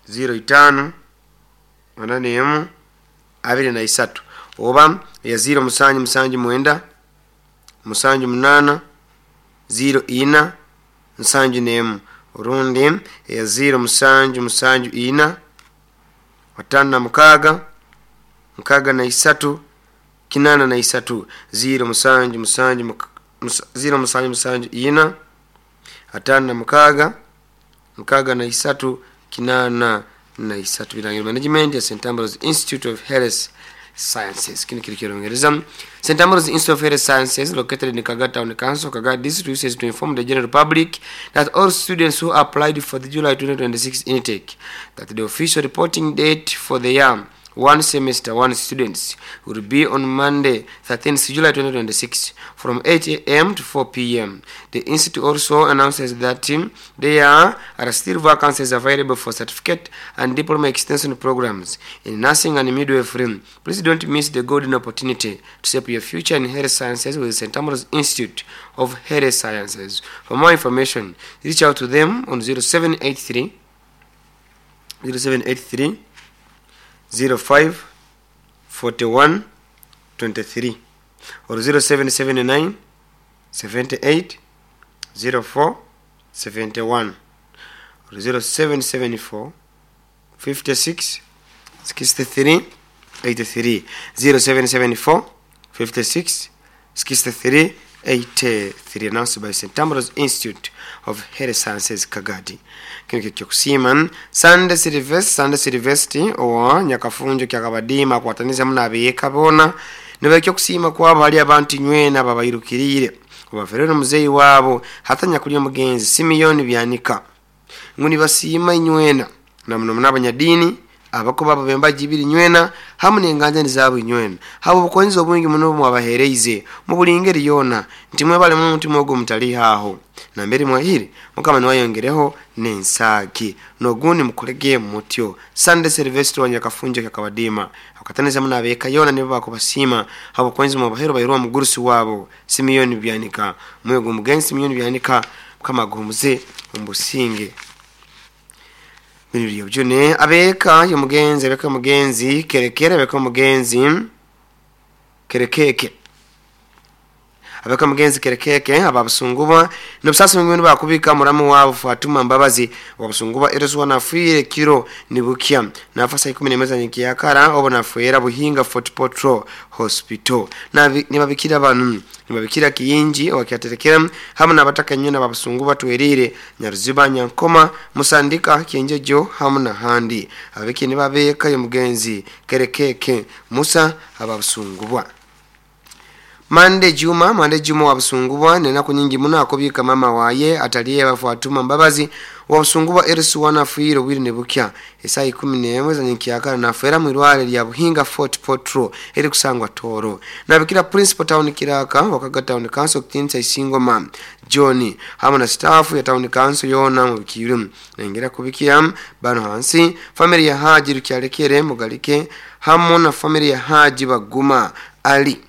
05 81 23 oba eya 0 7 7 9 7 8 04 71 orundi eya 0 7 7 4 56 83 0 7 7 0 7 7 4 56 63 83 birangiro management ya St Ambrose Institute of Health Sciences. Kino kiri kyongereza. St Ambrose Institute of Health Sciences, located in Kaga Town Council, Kaga District, wishes to inform the general public that all students who applied for the July 2026 intake, that the official reporting date for the year one semester one students will be on Monday 13th July 2026 from 8 a.m. to 4 p.m. The institute also announces that there are still vacancies available for certificate and diploma extension programs in nursing and midwifery. Please don't miss the golden opportunity to shape your future in health sciences with St. Ambrose Institute of Health Sciences. For more information, reach out to them on 0783 0783 05 41 23 or 0779 78 04 71 or 0774 56 63 83 0774 56 63 83, announced by St. Ambrose Institute of Health Sciences, Kagadi. Kino kyokusiima Sunday Silvest Sunday Silvesti owa Nyakafunjo kyakabadiima akwataniza muno abeeka boona nibaikya okusiima kwabo hali abantu nywena babairukiriire obaferere muzeeyi waabo hatanya kulya omugenzi Simiyoni Byanika ngu nibasiima inywena na muno muno abanyadiini abako babo bembaji ibiri nywena hamu n'enganjani zaabo inywena habo obukonzi obwingi muno mwabahereize mu buli ngeri yoona nti mwebale muno omutima ogwo mutaliihaaho nambere mwahire mukama niwayongereho n'ensaaki n'ogundi mukolege mutyo. Sunday Silvestro wa Nyakafunjo kyakabadiima akataniza muno abeeka yoona nibo bakubasiima habo obukonzi mwabahero bairwa omugurusi waabo Simiyoni Byanika. Omwoyo gw'omugenzi Simiyoni Byanika mukama aguhumuze omu businge. Bino byone abeeka y'omugenzi, abeeka y'omugenzi kerekere, abeeka y'omugenzi kerekeke, abeeka y'omugenzi kerekeke ababusunguba nobusasi bwingi bakubika muramu waabo Fatuma Mbabazi wabusunguba eroswa nafiire kiro nibukya nafa saa 11 za nyikyakara obo nafwera Buhinga Fort Portal Hospital. Nibabikira banu nibabikira kiyinji owakyaterekera hamu nabataka nyina babusungu batwerire Nyaruziba, Nyankoma, Musandika, Kienjejo hamu nahandi. Ababiki nibabeka y'omugenzi kerekeke Musa ababusungubwa. Mande Juma, Mande Juma wabusungubwa nenaku nyingi muno akubika mama waye ataliye Fatuma Mbabazi wabusungubwa erisi wanafiire obwire nebukya esaa 11 za nyikyakara nafera mwirware lya Buhinga Fort Portal eri kusangwa Toro. Nabikira Principal Town Kiraka wakaga Town Council kutinsa Isingoma John hamu na staff ya Town Council yona mu bikiru. Nengera kubikira bano hansi family ya Haji Rukyalekere Mugalike hamu na family ya Haji Baguma Ali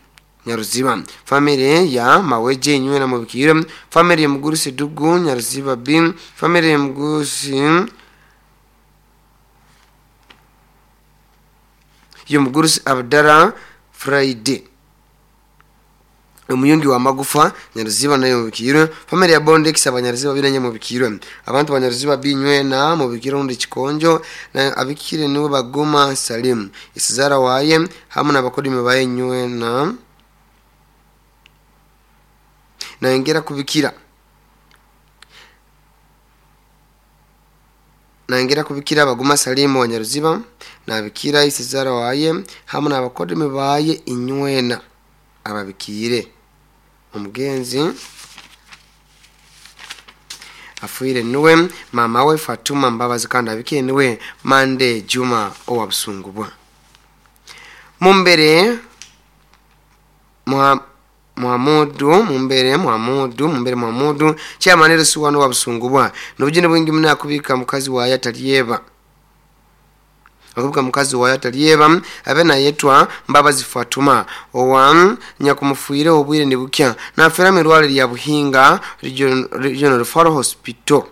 Nyaruziba, family ya Maweje nywena mu bikiro, family ya Mugurusi Dugu Nyaruziba B, family ya Mugurusi Abdara Friday omuyungi wa magufa Nyaruziba nayo mu bikiro, family ya Bondex abanyaruziba binanye mu bikiro, abantu banyaruziba binywena mu bikiro ndi kikonjo na abikire niwe Baguma Salim isizara waye hamu n'abakodimi baye nywena. Naengera kubikira Baguma Salimu wa Nyaruziba nabikira isizara waye hamu n'abakodimi baye inywena ababikire. Omugenzi afuire niwe mama we Fatuma Mbabazi kandi abikire niwe Mande Juma owabusungubwa. Mumbere Muhamudu Mumbere Muhamudu Mumbere Muhamudu chairman rusuwano wabusungubwa nobujine bwingi muna akubika mukazi waye ataliyeba akubika mukazi waye ataliyeba abe nayetwa Mbabazi Fatuma owa nyakumufuire obwire nibukya nafera mirwale lya Buhinga Regional Referral Hospital.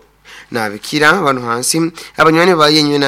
Nabikira abantu hansi abanywani baye nywena.